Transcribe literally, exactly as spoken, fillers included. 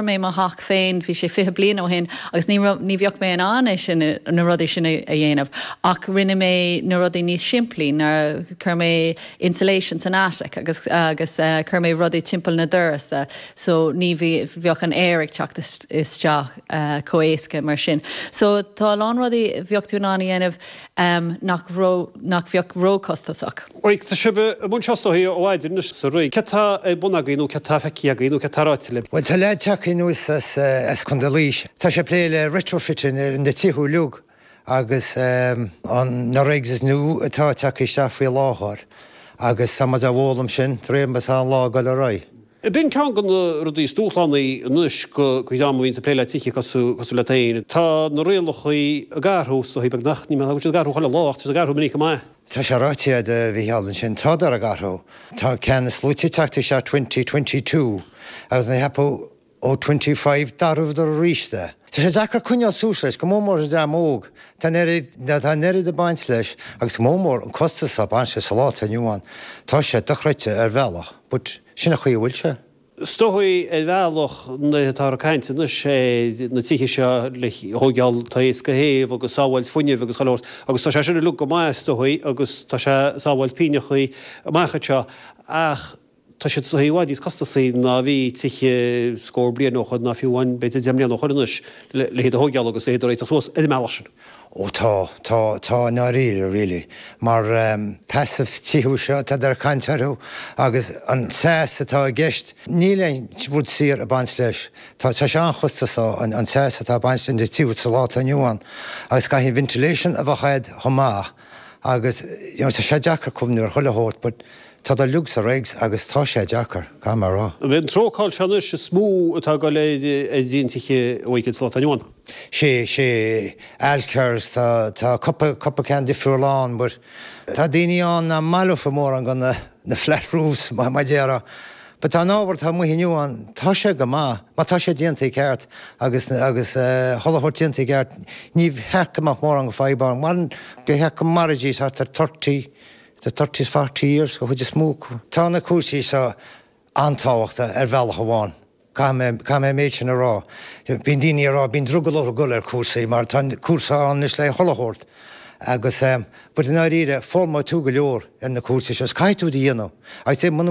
mé mo theach féin bhí sé fiche bliain ó shin agus ní ní bheadh mé in ann é sin na rudaí sin a dhéanamh ach rinne mé na rudaí níos simplí ná chuir mé insulation san attic agus agus uh, chuir mé rudaí timpeall na doras uh, so ní bheadh an aer ag teacht isteach uh, chomh héasca mar sin. So tá lán rudaí bheadh tú in ann a dhéanamh um, nach ró nach bheadh róchostasach. Oí tá sibh i mbun seo ó mhaidin sa rí. Cad tá ar bun agaibh nó cad tá feicthe agaibh nó cad tá ráite libh. Well tá leaid tagtha anuas as as Contae Laois. Tá sé plé le retrofitting na tithe uilig agus um, an na regs is nua atá tagtha isteach faoi láthair agus tá muid á bhfoghlaim sin tréim tá an lá go le roi. B'in ceann de na rudaí is dúshlánaí anois go go am bhíonn sa plé le tithe cosúil le tain. Tá na rialacha ag athrú beag nach ní ag athrú chuile lá ag athrú minic go maith. Tá sé ráite a bhí sin tádar ag athrú. Tá ceann is luaithe tagtha isteach twenty twenty two agus mé cheapadh ó twenty five d'athraíodar arís é. Tá sé deacair coinneáil suas leis, go mór mór an dream óg, Tá tá an oiread ag baint leis agus go mór mór an costas a baint sa lá atá inniu ann. Tá sé dochreidte ar bhealach, but sin an chaoi a bhfuil sé. Is dóigh ar bhealach na atá ag caint anois sé na tithe seo le thógáil taos go théamh agus sábháilt fuinnimh agus chuile shórt agus tá sé sin uilig go maith is dóigh agus tá sé sábháilt pínneachaí amach anseo ach tá siad i bhfad níos costasaí ná bhí tithe scór bliain ó shin ná fiú amháin b'fhéidir deich mbliana ó shin anois le hiad a thógáil agus le hiad a réiteach suas ar an mbealach sin. Ó tá, tá, tá i ndáiríre really, mar um, passive tithe seo atá ar caint orthu agus an teas atá i gceist, níl aon rud saor ag baint leis. Tá tá sé an-chostasach an, an teas atá ag baint leis na tithe sa lá atá inniu ann agus caithfidh ventilation a bheith agat chomh maith agus you know, tá sé deacair cuimhniú ar chuile shórt, but tá uilig sa regs agus tá sé deacair, caithfidh mé a rá. An trócáil seo anois is mó atá ag dul ar díon tithe a bhfuil sa lá atá inniu ann. Sé sé Alkers tá tá cúpla cúpla ceann difriúil ann, but tá daoine ann nach maith leofa mórán go na na flat roofs mar mar déarfá. But tá an ábhar atá amuigh inniu ann, tá sé go maith, má tá sé déanta i gceart agus agus chuile shórt déanta i gceart, ní cheart go mbeadh mórán go fadhb ann. Mar ba cheart go mairfidís thart ar thirty, the thirty forty years go chuid is mó. Tá na cúrsaí seo an-tábhachtach ar bhealach amháin. Caithfidh mé caithfidh mé an méid sin a rá. Bíonn daoine ag rá bíonn drogall orthu dul ar cúrsaí mar tá cúrsa ann anois le chuile shórt. Agus but i ndáiríre foghlaimeoidh tú go leor ar na cúrsaí seo, caithfidh tú iad a dhéanamh. Agus muna